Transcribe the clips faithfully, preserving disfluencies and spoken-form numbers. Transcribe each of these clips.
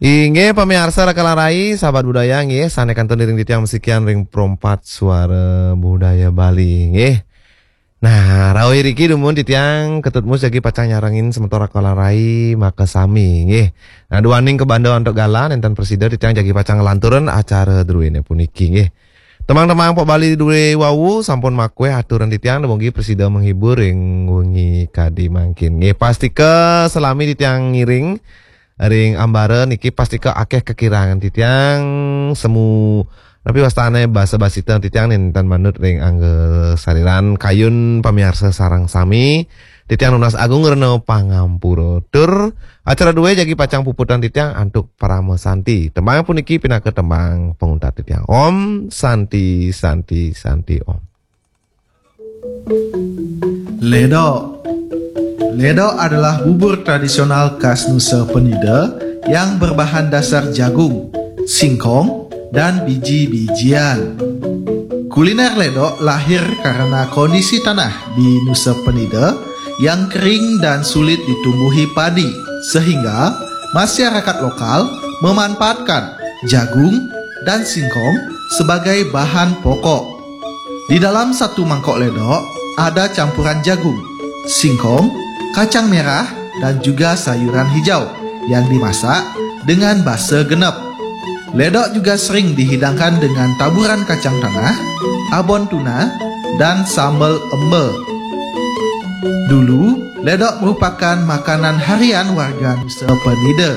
Inggih, pamiarsa Raka Larai, sahabat budaya, nggih, sané kantun iring titiang masikian ring Pro empat Suara Budaya Bali, nggih. Nah, rauh iriki dumun titiang Ketut Mus jagi pacang nyarengin semeton Raka Larai makasami, nggih. Nah, duaning kabanda antuk galah, nénten prasida titiang jagi pacang nglanturang acara druéné puniki, nggih. Tembang-tembang Pok Bali drué wau sampun makuéh aturang titiang, dumugi prasida menghibur ring wengi kadi mangkin, nggih. Pastika salami titiang ngiring ring ambara niki pastika akéh kakirangan titiang, semu napi wastané basa-basita titiang nénten manut ring angga sariran, kayun pamiarsa sareng sami. Titiang nunas agung rena pangampura. Tur acara drué jagi pacang puputang titiang antuk parama santi. Tembang puniki pinaka tembang panguntat titiang. Om Santi, Santi, Santi, Om. Ledok. Ledok adalah bubur tradisional khas Nusa Penida yang berbahan dasar jagung, singkong, dan biji-bijian. Kuliner ledok lahir karena kondisi tanah di Nusa Penida yang kering dan sulit ditumbuhi padi, sehingga masyarakat lokal memanfaatkan jagung dan singkong sebagai bahan pokok. Di dalam satu mangkok ledok ada campuran jagung, singkong, kacang merah, dan juga sayuran hijau yang dimasak dengan basa genep. Ledok juga sering dihidangkan dengan taburan kacang tanah, abon tuna, dan sambal emba. Dulu, ledok merupakan makanan harian warga Nusa Penida.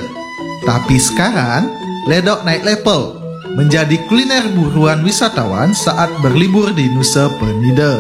Tapi sekarang, ledok naik level menjadi kuliner buruan wisatawan saat berlibur di Nusa Penida.